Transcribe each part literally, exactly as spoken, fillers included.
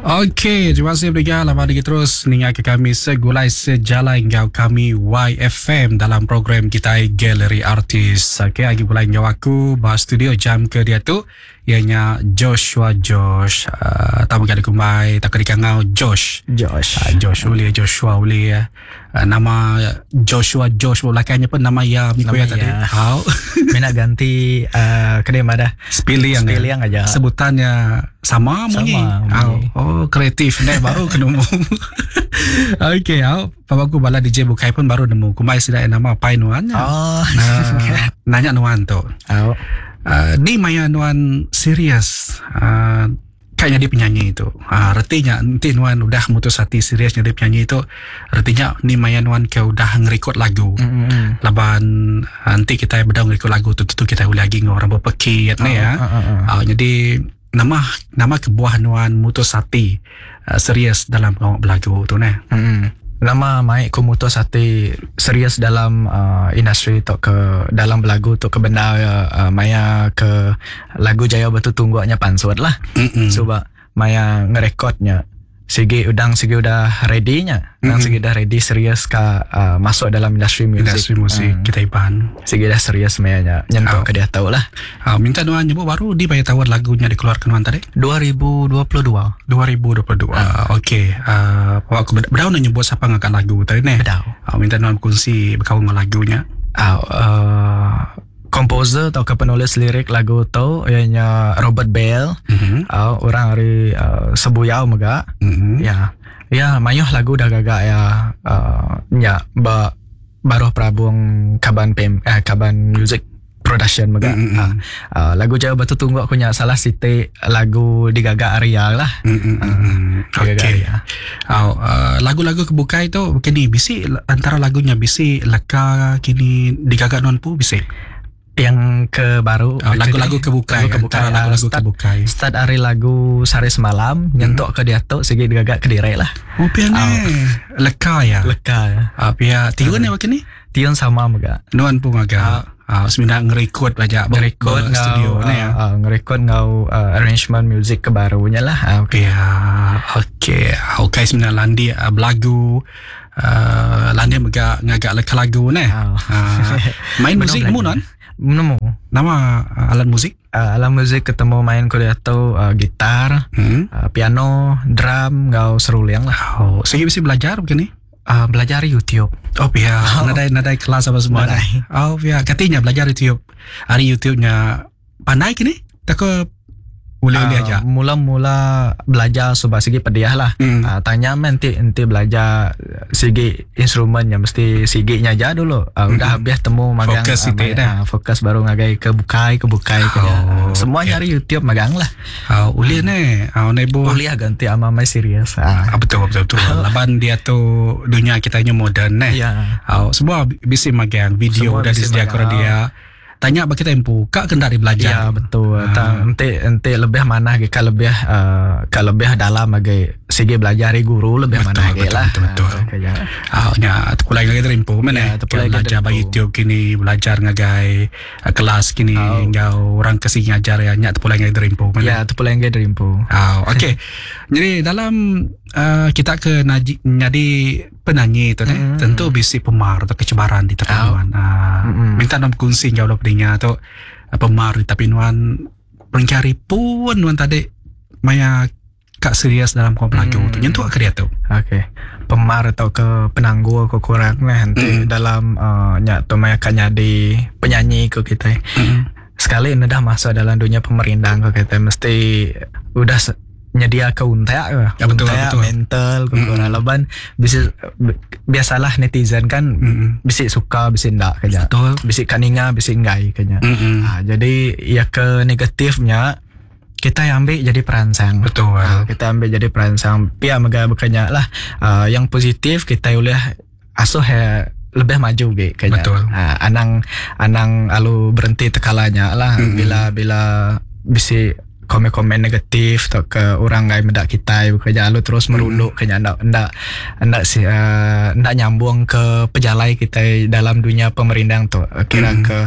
Okey, terima kasih Briga. Lama lagi terus ninga ke kami segulai sejalai enggau kami Y F M dalam program kita Galeri Artis. Okey, lagi gulai enggau aku ba studio jam ke dia tu ianya Joshua Josh. Uh, tamu gada kumbai tak dikangau Josh. Josh. Uh, Josh uli Joshua uli. Uh, nama Joshua Josh belakangnya pun nama ya Miko ya tadi. Hau. Mina ganti uh, kedai madah. Spiliang. Spiliang aja. Sebutannya sama munyi. Sama. Oh, kreatif ni baru kena nemu. Okey, au. Papa aku bala D J bukai pun baru nemu. Kumai sida nama pai nuan. Oh. Uh, nanya nuan tu. Au. Uh, ni maya nuan serius uh, kayaknya dia penyanyi itu. Uh, retinya nanti nuan udah mutus hati serius jadi penyanyi itu, retinya ni maya nuan ke udah ngerekod lagu. Mm-hmm. Laban nanti kita bedau ngerekod lagu tu tu kita boleh lagi orang berpekit ni ya. Uh, uh, uh. Uh, jadi nama nama kebuah nuan mutus hati uh, serius dalam pengawak belagu tu ne. Mm-hmm. Lama mai ku mutus hati serius dalam uh, industri tok ke dalam belagu tok ke benda uh, maya ke lagu Jaya Batu Tungguknya pansut lah. Mm-mm. Sebab maya ngerekodnya sigi udang sigi udah ready nya. Udang sigi dah ready serius ke uh, masuk dalam industri muzik. Industri muzik hmm. kita iban. Sigi dah serius maya nya nyentuh oh. ke dia tahu lah. Uh, minta nuan nyebut baru di bayar tawar lagunya dikeluarkan nuan tadi? dua ribu dua puluh dua. dua ribu dua puluh dua. Uh. Okey. Uh, aku bedau nak nyebut siapa ngangkat lagu tadi ni. Bedau. Uh, minta nuan berkongsi berkawan dengan lagunya. Uh, uh, komposer atau ke penulis lirik lagu tu ianya Robert Bell. Mm-hmm. Uh, orang dari uh, Sebuyau mega. Mm-hmm. Ya. Ya, mayuh lagu dah gagak ya. Uh, ya, ba baruh Prabung Kaban P M, eh, Kaban Music Production mega. Mm-hmm. Uh, uh, lagu Jaya Batu Tungguk aku nya salah siti lagu digagak Arya lah. Mm-hmm. Uh, Okey. Uh, uh, lagu-lagu kebukai tu kini bisi antara lagunya bisi leka kini digagak non pu bisi. Yang ke baru oh, lagu-lagu kebukai, lagu kebukai, lagu-lagu start, kebukai. Start hari lagu sehari semalam nyentuk hmm. ke dia tu segi digagak ke direk lah. Oh pian oh. Leka ya. Leka ya. Ah pia tiun uh, ni ni? Tiun sama mega. Nuan pun agak. Ah uh, sebenarnya ngerekod aja ngerekod studio ni ya. Uh, ngerekod ngau uh, arrangement music ke barunya lah. Uh, okay. Ya, okey. Okey sebenarnya landi uh, belagu uh, landi mega ngagak leka lagu ni. Oh. Uh, main muzik mu non? Nemu. Nama uh, alat muzik? Uh, alat muzik ketemu main kuliah tu uh, gitar, hmm? uh, piano, drum, ngau seruling lah. Oh, saya bisa belajar begini? Uh, belajar YouTube. Oh, ya. Oh. Nadai nadai kelas apa semua. Nadai. Oh, ya. Katanya belajar YouTube. Hari YouTube-nya pandai kini? Tak ke boleh-boleh uh, aja. Mula-mula belajar sebab segi pediah lah. Mm. Uh, tanya nanti nanti belajar segi instrumennya mesti seginya aja dulu. Uh, Mm. Udah habis temu magang. Fokus uh, uh, uh, fokus baru ngagai ke bukai ke bukai oh, ke. Uh, semua okay. nyari YouTube magang lah. Uh, uliah uh, ni, uh, nebo. Uliah ganti ama mai serius. Uh. Uh, betul betul betul. Laban dia tu dunia kita nya moden ne. Yeah. Uh, semua bisi magang video dah disediakan dia. Tanya bagi kita empu, kak kena dari belajar. Ya betul. Ha. Ente ente lebih mana ke ka lebih uh, ka lebih dalam bagi segi belajar dari guru lebih betul, mana betul, lah. Betul betul. Ha, Ah nya terpulai ngagai dari empu mana? Ya, terpulai belajar bagi YouTube kini belajar ngagai uh, kelas kini oh. ngau orang kesini ngajar ya nya terpulai ngagai dari empu mana? Ya terpulai ngagai dari empu. Ah okey. Jadi dalam uh, kita ke naji, jadi penyanyi tu mm. tentu bisi pemar atau kecebaran di tepi oh. nuan. Uh, mm. Minta nom kongsi jauh pendengar tu pemar di tepi nuan pencari pun nuan tadi maya kak serius dalam kom lagu mm. tu nyentuh ke dia tu. Okey. Pemar atau ke penangguh ke kurang lah nanti mm. dalam uh, nyak tu maya kak jadi penyanyi ke kita. Mm. Sekali ini dah masuk dalam dunia pemerindang ke kita mesti udah nyedia ke untak ke ya, betul, untak, betul. Mental ke mm. Laban bisa biasalah netizen kan mm. bisa suka bisa ndak kenya. Betul. Bisa kaninga bisa enggai kenya. Mm. Ha, jadi ya ke negatifnya kita yang ambil jadi perangsang. Betul. Ha, kita ambil jadi perangsang. Pia mega bekanya lah uh, yang positif kita boleh asuh ya, lebih maju ge kenya. Betul. Ha, anang anang alu berhenti tekalanya lah Mm. bila bila bisa komen-komen negatif atau ke orang ngai medak kita bekerja lalu terus merunduk mm. kenya ndak ndak ndak si uh, ndak nyambung ke pejalai kita dalam dunia pemerindang tu kira mm. ke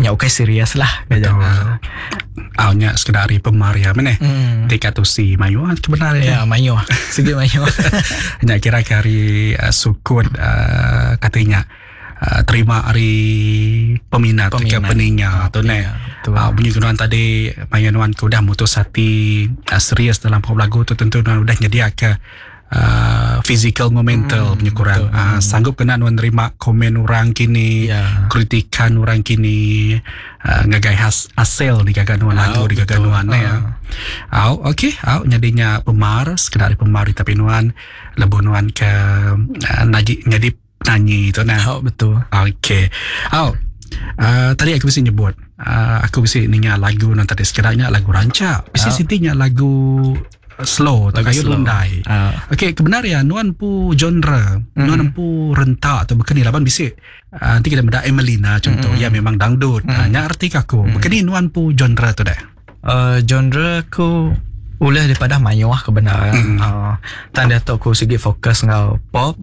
nya okay serius lah betul. Ah nya sekedar ari pemaria meneh. Mm. Tika tu si mayu kebenar ya mayu sigi mayu. Nya kira ke hari uh, sukut uh, katanya uh, terima hari peminat, peminat. ke peninga tu ne. Ah bunyi nuan tadi mayu nuan ke udah mutus hati uh, serius dalam pop lagu tu tentu nuan udah nyedia ke Uh, physical ngau mental hmm, punya kurang. Uh, sanggup kena nuan nerima komen orang kini, yeah. kritikan orang kini, uh, ngagai has, hasil digaga nuan lagu oh, digaga nuan uh. ya. Au okey, au nyadinya pemar sekedar pemar tapi nuan lebuh nuan ke uh, nagi nyadi penyanyi tu nah. Oh, betul. Okey. Au uh, tadi aku mesti nyebut uh, aku mesti ninga lagu nuan tadi sekedarnya lagu rancak. Mesti sitinya lagu slow atau kayu lundai. Uh. Okey, kebenaran nuan pu genre, mm. nuan pu rentak atau bekeni laban bisik. Uh, nanti kita benda Emelina contoh, mm. ya memang dangdut. Mm. Uh, nya arti aku. Mm. Bekeni nuan pu genre tu dah. Uh, genre aku ulih daripada mayuh kebenaran. Mm. Uh, tanda tu aku segi fokus ngau pop,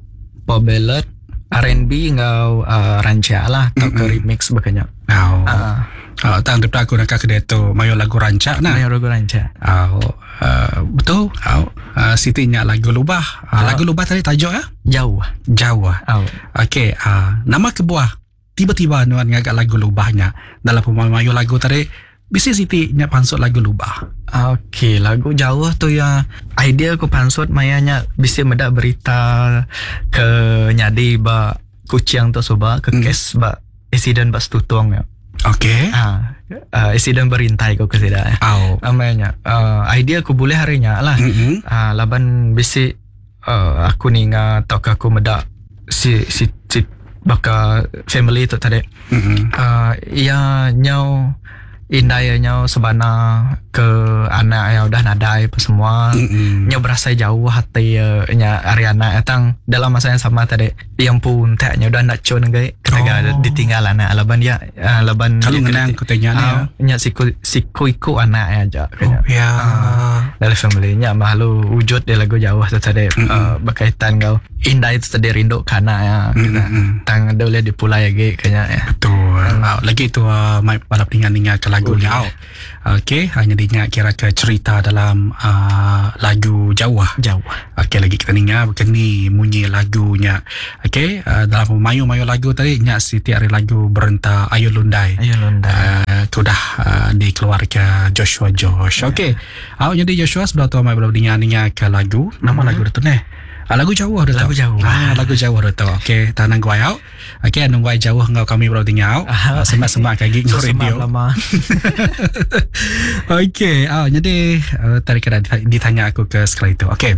pop ballad, R and B ngau uh, rancak lah atau mm-hmm. ke remix bekenya. Oh. Uh. Uh, tang daripada aku nak ke tu mayo lagu rancak nah. Mayo lagu rancak. Oh, uh, betul. Oh, uh, Siti nya lagu lubah. Uh, oh. Lagu lubah tadi tajuk ya? Jauh. Jauh. Oh. Okey, uh, nama kebuah tiba-tiba nuan ngagak lagu lubahnya dalam pemayu lagu tadi bisi Siti nya pansut lagu lubah. Okey, lagu jauh tu ya idea aku pansut mayanya bisi medak berita ke nyadi ba kucing tu soba ke hmm. kes ba insiden ba stutung ya. Okey. Ha, uh, insiden berintai ko ke sida. Oh. Amanya uh, idea aku boleh harinya lah. Mm-hmm. Uh, laban bisi uh, aku ninga atau aku medak si si si baka family tu tadi. Mm-hmm. Uh, ia nyau indai nyau sebana ke anak yang udah nadai apa semua. Mm-hmm. Nyau berasa jauh hati uh, nya ari anak tang dalam masa yang sama tadi yang pun taknya udah nak cun gai ketika oh. ditinggal anak laban dia uh, laban kalau ngenang kutenya ni uh, nya siku siku iku anak aja oh, ya uh, dalam family nya malu wujud dia lagu jauh tu tadi mm-hmm. uh, berkaitan kau indai tu tadi rindu ke anak ya mm-hmm. tang ada boleh dipulai lagi kayaknya ya. Betul. Mm. Uh, lagi tu uh, mai balap ninga-ninga ke lagu ni. Oh, Okey, hanya dinya kira ke cerita dalam uh, lagu jauh. Jauh. Okey, lagi kita ninga begini bunyi lagunya. Okey, uh, dalam mayu-mayu lagu tadi nya siti hari lagu berenta Ayu Lundai. Ayu Lundai. Uh, sudah uh, dikeluarkan Joshua Josh. Yeah. Okey. Awak jadi Joshua sebelah tu mai belum ninga-ninga ke lagu. Nama mm-hmm. lagu tu ni. Ah, lagu jauh dah lagu jauh. Ah, lagu jauh dah tu. Okey, tanang gua au. Okey, nung gua jauh ngau kami baru tinggal. Ah, semak-semak kaki ngau radio. Lama. Okey, ah jadi uh, tadi kena ditanya aku ke sekali itu. Okey.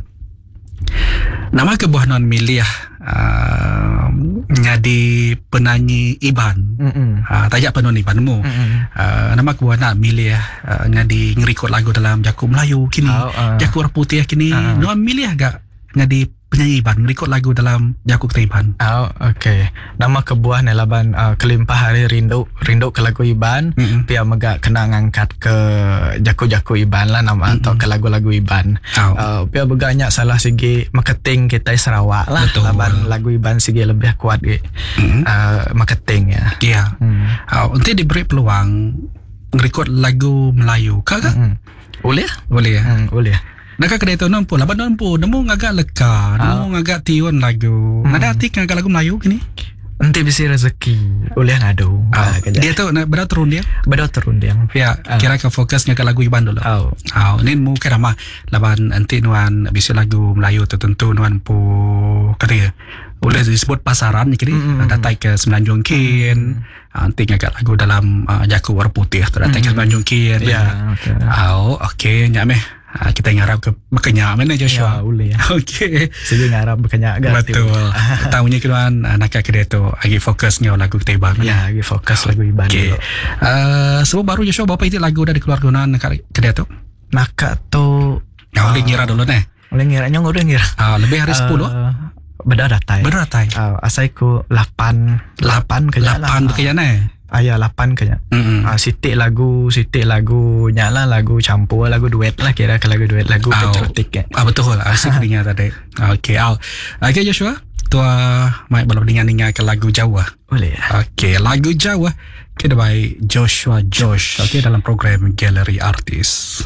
Nama kebuah non milih uh, jadi penyanyi Iban. Mm-mm. Uh, tajak penon Iban mu. Uh, nama kebuah nak milih uh, jadi ngerekod lagu dalam jaku Melayu kini. Oh, uh. Jaku orang putih kini. Uh. Non milih agak jadi penyanyi Iban ngerekod lagu dalam jaku kita Iban. Oh, okey. Nama kebuah ni laban uh, kelimpah hari rindu rindu ke lagu Iban, mm-hmm. pia mega kena ngangkat ke jaku-jaku Iban lah nama Mm-mm. atau ke lagu-lagu Iban. Oh. Uh, pia beganya salah segi marketing kita Sarawak lah. Betul. Laban lagu Iban segi lebih kuat ge. Mm-hmm. Uh, marketing ya. Ya. Yeah. Hmm. Oh, nanti diberi peluang ngerekod lagu Melayu. Kak ke? Mm-hmm. Boleh? Boleh ya. Hmm, boleh. Nak kedai tu nampu, laban nampu, nemu ngagak leka, nemu ngagak tiun lagu. Hmm. Ada hati ngagak lagu Melayu kini? Nanti bisi rezeki boleh ngadu. Ah, Ah, kerja. dia tu nak berada turun dia. Bedo turun dia. Ya, Ah. kira ke fokus ngagak lagu Iban dulu. Oh. Ah, ni mu kira mah laban nanti nuan bisi lagu Melayu tertentu nuan pu kata ya. Boleh disebut pasaran ni kini Mm, mm, datai ke Semenanjung kin. Ah, nanti ngagak lagu dalam uh, jaku warna putih tu datai ke Semenanjung kin. Ya, okey. Oh, okey, nyak meh. Ah, kita ngarap ke bekenyak mana Ya, Joshua. boleh ya. Okey. Segi ngarap bekenyak gak. Betul. Tahunya keluan anak kedai tu lagi fokus ngau lagu kita Iban. Ya, lagi fokus lagu Iban Okey. dulu. Uh, sebab baru Joshua berapa itu lagu dah dikeluarkan dekat kedai tu? Maka tu Nah, boleh ngira dulu neh. boleh ngira nyong udah ngira. Ah, lebih hari sepuluh. Uh, beda datai. Benar tai. Uh, asai ku lapan lapan kerja lah. Lapan bekerja neh. Ayah lapan kayaknya. Mm-mm. Ah, sitik lagu, sitik lagu nyala lagu campur, lagu duet lah kira ke lagu duet, lagu Au. patriotik ya. Ah betul lah. Asyik dengar tadi. Okey, al. Okey Joshua, tua mai belum dengar-dengar ke lagu Jawa. Boleh ya. Okey, lagu Jawa kita by Joshua Josh. Okey dalam program Galeri Artis.